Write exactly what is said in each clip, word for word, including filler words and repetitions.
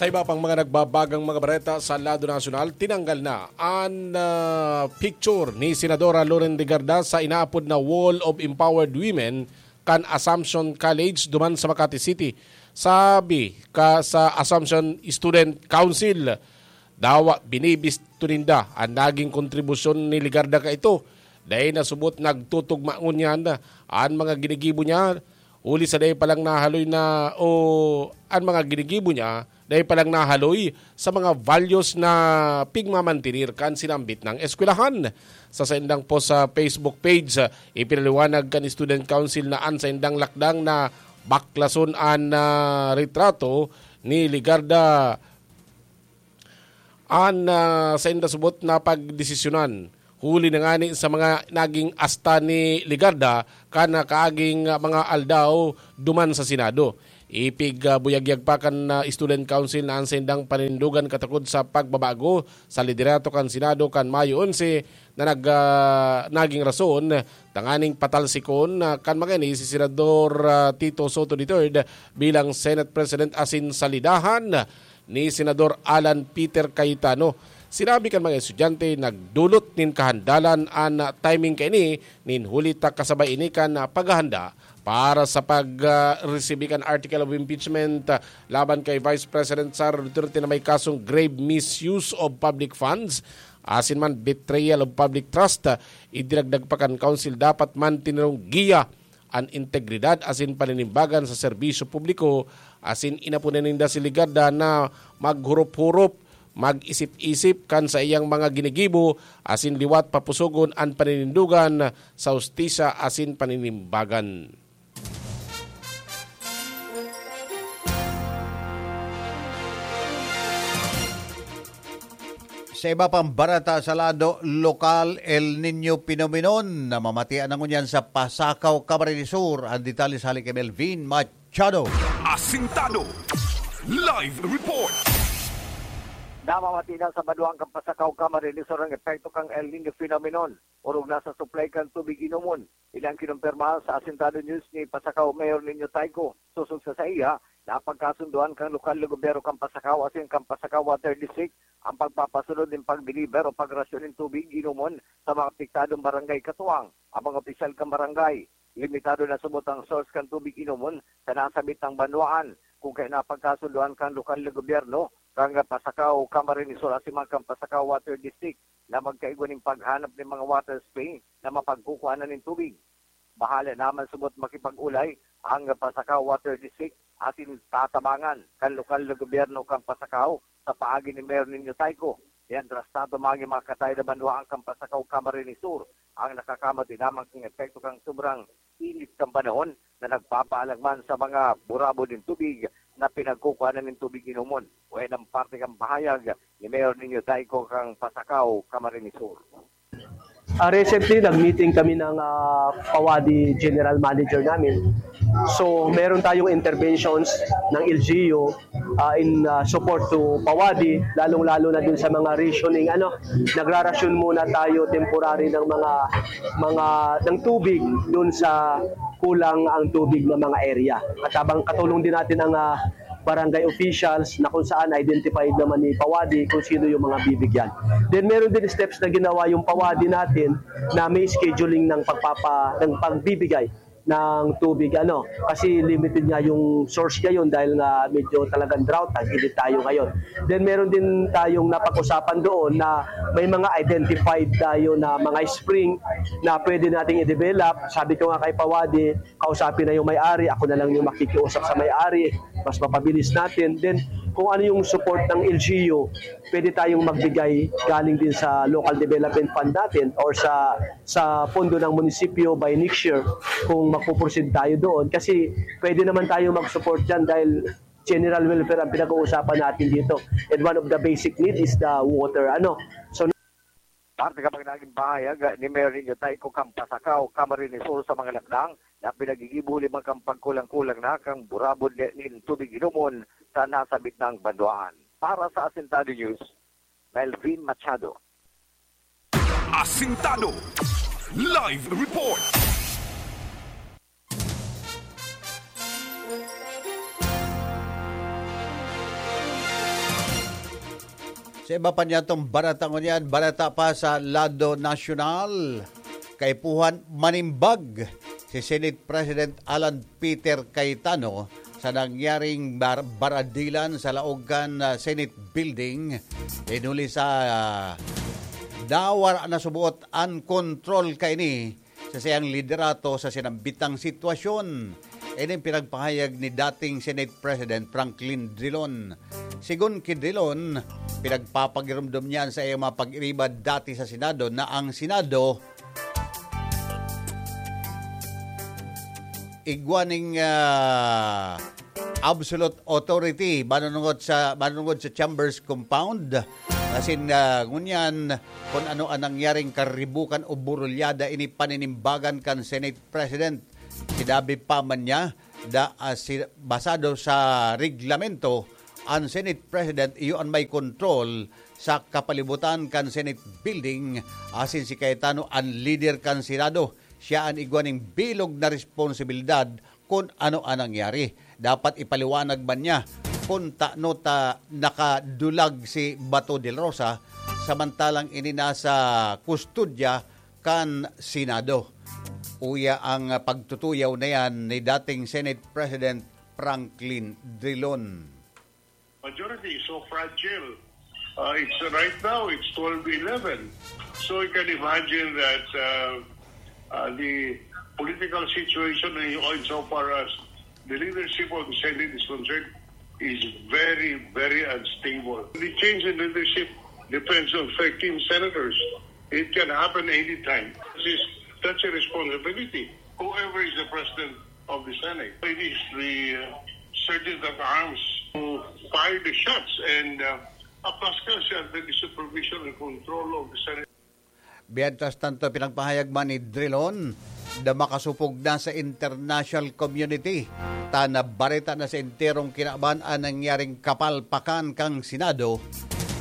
Sa iba pang mga nagbabagang mga bareta sa lado nasyonal, tinanggal na an, ah, picture ni Senadora Loren Legarda sa inaapod na Wall of Empowered Women kan Assumption College duman sa Makati City. Sabi ka sa Assumption Student Council, dawa binibisto ninda an naging kontribusyon ni Legarda kaito. Dai nasubot nagtutugma ngunyan an mga ginigibo niya, huli sa dai pa lang nahaloy na o an mga ginigibo niya, dai pa lang nahaloy sa mga values na pigmamantinir kan sinambit nang eskwelahan. Sa saindang post sa Facebook page, ipinaliwanag kan Student Council na an saindang lakdang na baklason an, ah, retrato ni Legarda an, ah, sainda subot na pagdesisyonan. Huli na ngani sa mga naging asta ni Legarda kan, ah, kaaging, ah, mga aldaw duman sa Senado. Ipig, ah, buyagyag pa kan, ah, Student Council na an saindang paninindogan katakod sa pagbabago sa liderato kan Senado kan Mayo onse na nag-, ah, naging rason tanganing patalsikon, ah, kan mga ini si Senador, ah, Tito Soto the third bilang Senate President asin salidahan ni Senador Alan Peter Cayetano. Sinabi kan mga estudyante, nagdolot nin kahandalan an timing kaini nin huli ta kasabay ini kan paghahanda para sa pag, ah, resibi kan article of impeachment, ah, laban kay Vice President Sara Duterte na may kasong grave misuse of public funds asin man betrayal of public trust. Ah, idinagdag pa kan Council, dapat man tinirong giya an integridad asin paninimbagan sa serbisyo publiko, asin inaponan ninda si Legarda na maghurop-hurop, mag-isip-isip kan saiyang mga ginigibo, asin liwat papusogon an paninindogan sa hustisya asin paninimbagan. Sa iba pang bareta sa lado lokal, El Niño phenomenon na mamatian na ngunyan sa Pasacao, Camarines Sur. Ang detalye sa hali kay Melvin Machado. Asintado. Live report. Namamati na sa banwaan kan Pasacao, Camarines Sur ang epekto kan El Niño phenomenon, orog na sa supply kan tubig inomon. Ini ang kinumpirma sa Asintado News ni Pasacao Mayor Nino Tayco. Sosog sa saiya, napagkasundoan kan lokal na gobyerno kan Pasacao asin kan Pasacao Water District ang pagpapasunod nin pag-deliver o pagrasyon nin tubig inomon sa mga apektadong barangay katuwang ang mga opisyal kan barangay. Limitado na subot ang source kan tubig inomon sa nasabit nang banwaan, kun kaya napagkasundoan kan lokal na gobyerno kan Pasacao, Camarines Sur asin man kan Pasacao Water District na magkaigwa nin paghanap nin mga water spring na mapagkukuhanan nin tubig. Bahala naman subot makipag-ulay ang Pasacao Water District asin tatabangan kan lokal na gobyerno kan Pasacao sa paagi ni Mayor Nino Tayco. Mientras tanto, magin mga katay na banwaan kan Pasacao, Camarines Sur ang nakakamati lamang kan epekto kan sobrang init kan panahon na nagpapaalang man sa mga burabod nin tubig na pinagkukuhanan nin tubig inomon. Wayan ang parte kan pahayag ni Mayor Nino Tayco kan Pasacao, Camarines Sur. Ah, recently, nag-meeting kami ng, ah, Pawadi General Manager namin. So, meron tayong interventions ng L G U, ah, in, ah, support to Pawadi, lalong-lalo na dun sa mga rationing, ano, nagrarasyon muna tayo temporary ng mga, mga, ng tubig dun sa kulang ang tubig ng mga area. At habang katulong din natin ang, ah, barangay officials na kung saan identified naman ni Pawadi kung sino yung mga bibigyan. Then meron din steps na ginawa yung Pawadi natin na may scheduling ng pagpapa-, ng pagbibigay ng tubig, ano, kasi limited nga yung source ngayon dahil nga medyo talagang drought, tag-init tayo ngayon. Then meron din tayong napag-usapan doon na may mga identified tayo na mga spring na pwede nating i-develop. Sabi ko nga kay Pawadi, kausapin na yung may-ari, ako na lang yung makikiusap sa may-ari, mas mapabilis natin. Then, kung ano yung support ng L G U, pwede tayong magbigay galing din sa local development fund natin or sa, sa pondo ng munisipyo by next year kung magpo-proceed tayo doon. Kasi pwede naman tayo mag-support dyan dahil general welfare ang pinag-uusapan natin dito. And one of the basic need is the water. Ano? So, Parte ka pag naging pahayag ni Mayor Nino Tayco kan Pasacao, Camarines Sur sa mga lakdang na pinagigibo limang kan pagkulang-kulang na kan burabod ni, nin tubig inomon sa nasabit nang banwaan. Para sa Asintado News, Melvin Machado. Asintado. Live report. Sa iba pa niyatong barata ngunyan, barata pa sa lado nasyonal, kaipuhan manimbag si Senate President Alan Peter Cayetano sa nangyaring bar- baradilan sa laog kan, ah, Senate Building. Inuli sa, ah, nawara na subuot an kontrol kaini sa saiyang liderato sa sinambitang sitwasyon. Ini ang pinagpahayag ni dating Senate President Franklin Drilon. Sigon ki Drilon, pinagpapagiromdom niya sa iyang mga pag-iriba dati sa Senado na ang Senado igwa ning, ah, absolute authority manunungod sa, manunungod sa Chambers Compound. Asin, ah, ngunyan, kung ano ang nangyaring karibukan o burulyada, ini paninimbagan kan Senate President. Sinabi pa man niya, da, ah, si, basado sa reglamento, ang Senate President iyo ang may kontrol sa kapalibutan kan Senate Building, asin si Cayetano ang lider kan Senado. Siya an igwa ning bilog na responsibilidad kun ano an nangyari. Dapat ipaliwanag man niya kun tano ta nakadulag si Bato de la Rosa, samantalang ini nasa kustodya kan Senado. Uya ang pagtutuyaw na yan ni dating Senate President Franklin Drilon. Majority is so fragile. Uh, it's right now, it's twelve eleven. So you can imagine that uh, uh, the political situation in, insofar as the leadership of the Senate is concerned is very, very unstable. The change in leadership depends on thirteen senators. It can happen anytime. This is, that's a responsibility. Whoever is the president of the Senate, it is the uh, sergeant at arms who fired the shots and uh, Aplaska siya under the supervision and control of the Senate. Mientras tanto, pinagpahayag man ni Drilon na makasupog na sa international community ta nabareta na sa enterong kinaban an nangyaring kapalpakan kan Senado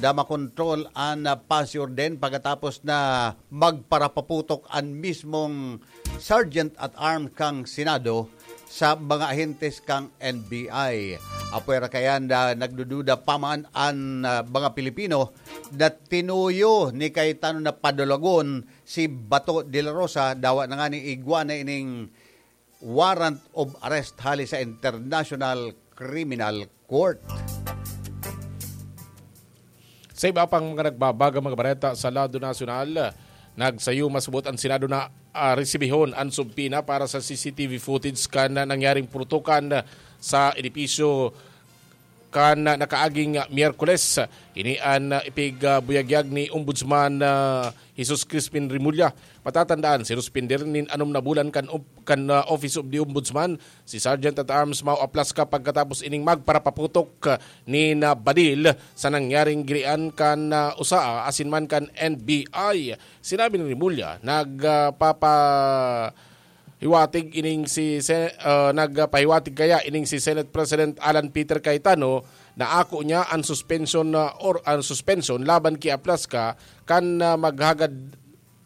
na makontrol an pasi-orden pagkatapos na magparapaputok an mismong Sergeant at Arms kan Senado sa mga ahentes kan N B I. Apwera kayan na nagdududa pa man an, ah, mga Pilipino na tinuyo ni Cayetano na padulagon si Bato de la Rosa, dawa na nga ni igwa na ining warrant of arrest hali sa International Criminal Court. Sa iba pang mga nagbabagang mga bareta sa lado nasyonal, nagsayo masabot ang Senado na, ah, resibihon ang subpoena para sa C C T V footage kan nangyaring purutukan sa edipisyo kan nakaaging Miyerkules. Ini an ipigbuyagyag ni Ombudsman, ah, Jesus Crispin Remulla. Matatandaan, sinuspender nin anom na bulan kan op-, kan, ah, Office of the Ombudsman si Sergeant at Arms Mau Aplaska pagkatapos ining magparapaputok, ah, nin, ah, badil sa nangyaring girian kan, ah, usa asin man kan N B I. Sinabi ni Remulla, nag, ah, papa-, hiwatig ining si Sen-, ah, nagpahiwatig kaya ining si Senate President Alan Peter Cayetano na ako niya ang suspension na or ang suspension laban ki Aplaska kan, ah, maghagad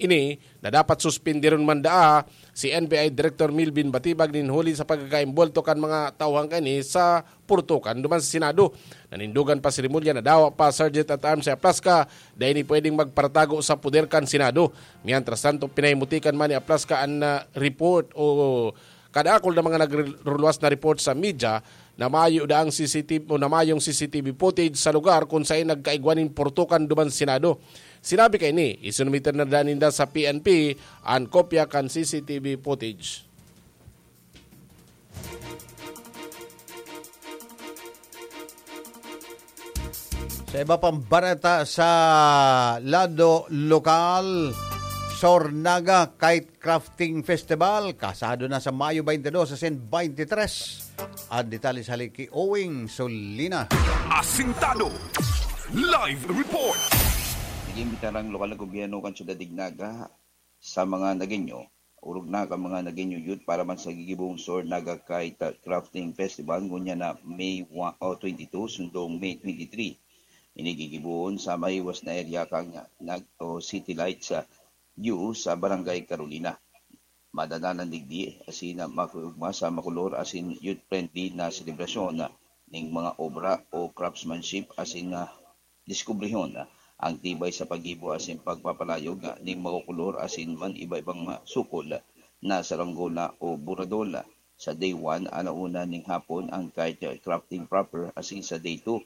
ini na dapat suspindiron man daa si N B I Director Milvin Batibag nin huli sa pagkakaimbwelto kan mga tauhang kaini sa purtukan duman sa Senado. Nanindogan pa si Remulla na dawa pa Sergeant at Arms si Aplaska, dai ni pwedeng magparatago sa poder kan Senado. Mientras tanto, pinahimutikan man ni Aplaska an, ah, report o kadakol na mga nagruluwas na report sa media na mayo daang C C T V o na mayong C C T V footage sa lugar kung saan nagkaigwa nin purtukan duman sa Senado. Sinabi kaini, isinumiter na daa ninda sa P N P an kopya kan C C T V footage. Sa iba pang bareta sa lado lokal, Sornaga Kite Crafting Festival, kasado na sa Mayo twenty-two asin twenty-three. An detalye sa hali ki Owing Solina. Asintado. Live report. Nag-imbita ang lokal na gobyerno kan Syudad Dignaga sa mga Nagueño, orog na kan mga Nagueño youth para man sa gigibong Sornaga Kite Crafting Festival ngunyan na May one, o twenty-two, sundong May twenty-three. Ini gigibohon sa mahiwas na area kan Nag-, o City Lights, ah, View sa Barangay Carolina. Madadalan digdi asin makiugma sa makolor asin youth-friendly na selebrasyon ning mga obra o craftsmanship asin, ah, diskubrihon ang tibay sa paggibo asin pagpapalayog ning makukulor asin man iba-ibang sukol na saranggola o buradol. Sa day one, alauna ning hapon ang kite crafting proper, asin sa day two,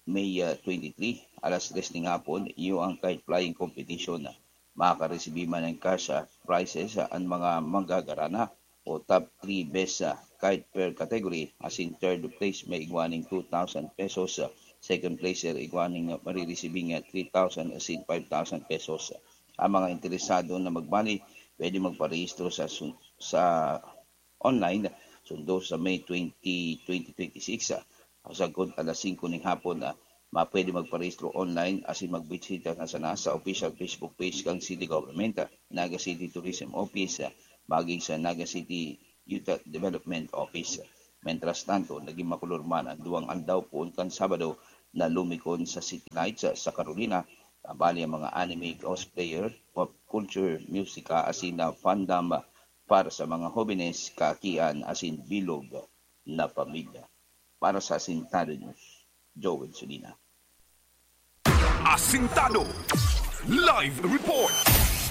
May ah, twenty-three, alas tres ning hapon, iyo ang kite flying competition. Makakaresibi man ng cash ah, prizes ah, ang mga manggagarana o top three best ah, kite per category, asin third place may igwa ning two thousand pesos, ah, second place igwa ning ah, mariresibing ah, three thousand asin five thousand pesos. Ang mga interesado na magbali, pwede magparehistro sa sun- sa online, sundo sa May twenty, twenty twenty-six, ah, sagkod alas singko ning hapon, ah, mapwede magparehistro online asin magbisita na sana sa official Facebook page kan City Government, ah, Naga City Tourism Office, ah, maging sa Naga City Youth Development Office. Mientras tanto, naging makulor man ang duwang aldaw poon kan Sabado na lumikon sa City Lights, ah, sa Carolina, tabali ang mga anime cosplayer, pop culture, musika, asin na fandom, ah, para sa mga hobenes, kaakian asin bilog na pamilya. Para sa Asintado News, Joel Sulina. Asintado Live Report.